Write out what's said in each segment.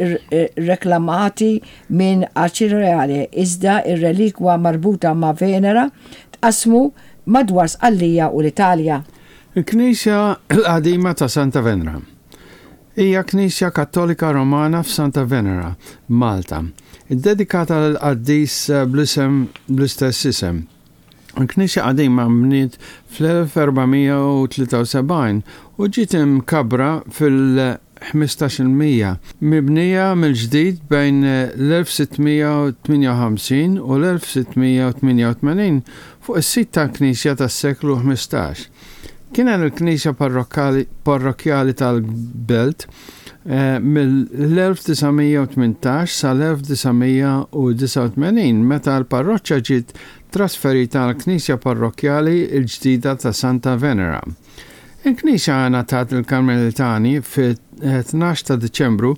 Reklamati minn Acireale iżda r-relikwa marbuta ma' Venera tqassmu madwar Sqallija u l-Italja. Il-Knisja l-Qadima ta' Santa Venera hija knisja Kattolika Romana f'Santa Venera, Malta, iddedikata lill-qaddis bl-isem bl-istess isem. Il-knisja qadima nbniet fl-1473 u ġiet imkabbra fil-1500, mibnija mill-ġdid bejn l-1658 u l-1688 fuq is-sit tal-knisja tas-seklu 15. Kienet il-knisja parrokkjali tal-belt mill-1918 sal-1989 meta l-parroċċa ġiet trasferita għall-knisja parrokkjali l-ġdida ta' Santa Venera. Il-knisja ngħatat lill-Karmelitani fit-12 ta' Diċembru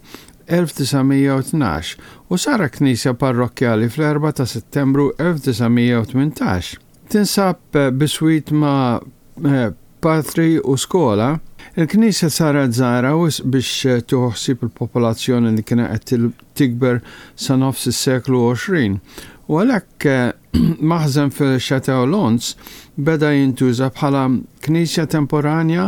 1912 u saret knisja parrokkjali fl-4 ta' Settembru 1918. Tinsab biswit ma' patri u skola. Il-knisja saret żgħira wisq biex tieħu ħsieb il-popolazzjoni li kienet qed tikber sa nofs is-seklu 20 u għalhekk maħżen fil-Château Lons beda jintuża bħala knisja temporanja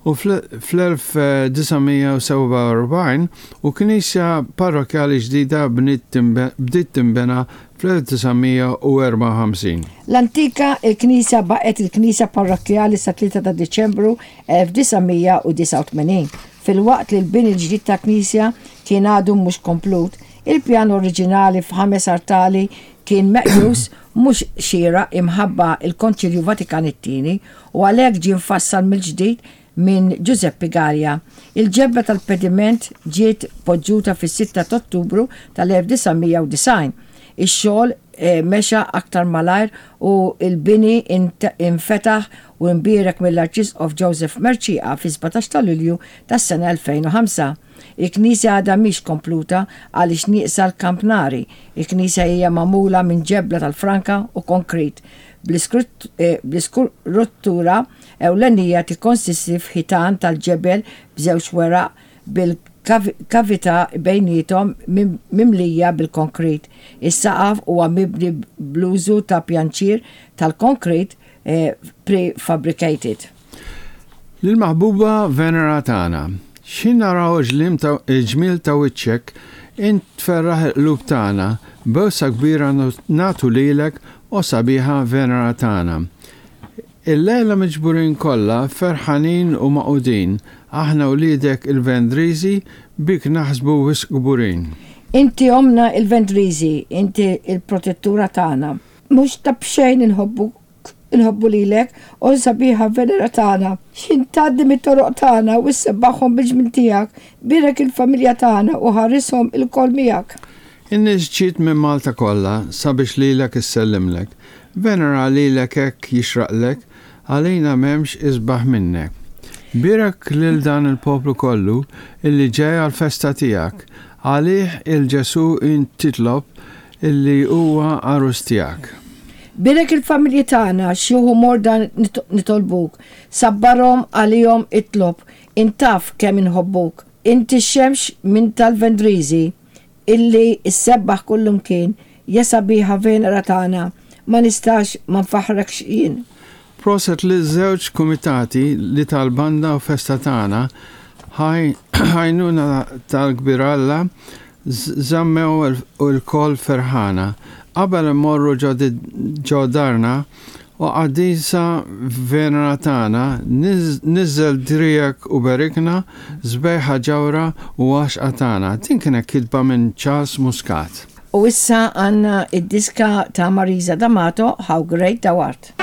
u fl-1947 u knisja parrokkjali ġdida bdiet tinbena fl-1954. L-antika il-knisja baqgħet il-knisja parrokkjali sa-3 ta' Diċembru 1989, filwaqt li l-bini l-ġdid tal-knisja kien għadu mhux komplut. Il-pjan oriġinali f'ħames artali kien meqjus mhux xieraq imħabba l-Konċilju Vatikan it-Tieni u għalhekk ġie mfassal mill-ġdid minn Giuseppe Galea. Il-ġebla tal-pediment ġiet poġġuta fis-6 ta' Ottubru tal-1990. Ix-xogħol mexa aktar malajr u l-bini infetaħ u imbierek mill-Arċisqof Joseph Mercieca fis-17 ta' Lulju tas-sena 2005. Il-knisja għadha mhix kompluta għaliex nieqsa l-kampnari. Il-knisja hija magħmula minn ġebla tal-franka u konkrit bl-iskruttura ewlenija tikkonsisti f'ħitan tal-ġebel b'żewġ weraq bil-kavità bejniethom mimlija bil-konkrit. Is-saqaf huwa mibni bl-użu ta' pjanċier tal-konkrit prefabricated. Lill-maħbuba Venera tagħna. X'ħin naraw il-ġmiel ta' wiċċek, int tferraħ il-qlub tagħna, bewsa kbira nagħtu lilek, o sabiħa Venera tagħna. Illejla miġburin kollha, ferħanin u magħqudin, aħna wliedek il-Vendriżi, bik naħsbu wisq kburin. Inti ommna il-Vendriżi, inti l-protettura tagħna. Mhux ta' b'xejn inħobbuk, inħobbu lilek, o sabiħa Venera tagħna. X'ħin tgħaddi mit-toroq tagħna u ssebbaħhom bil-ġmiel tiegħek, bierek il-familja tagħna u ħarishom ilkoll miegħek. In-nies ġiet minn Malta kollha sabiex lilek issellimlek. Venera lilek hekk jixraqlek, għalina m'hemmx isbaħ minnek. Bierek lil dan il-poplu kollu illi ġej għall-festa tiegħek. Għalih 'il Ġesù int titlob illi huwa għarus tiegħek. Bierek il-familji tagħna, xjuħ u morda nitolbuk. Sabbarhom għalihom itlob, int taf kemm inħobbuk. Inti x-xemx minn tal-Vendriżi. Illi ssebbaħ kullumkien, ja sabiħa Venera tagħna, ma nistax ma nfaħħrekx jien. Proset liż-żewġ kumitati li tal-banda u festa tagħna ħajnuna tal-kbir Alla żammew ilkoll ferħana. Qabel immorru ġo darna O Qaddisa Venera tagħna, niżżel driegħek u berikna, sbejħa ġawhra u għaxqa tagħna. Din kienet kitba minn Charles Muscat. U issa għandna d-diska ta' Marisa D'Amato, How Great Thou Art.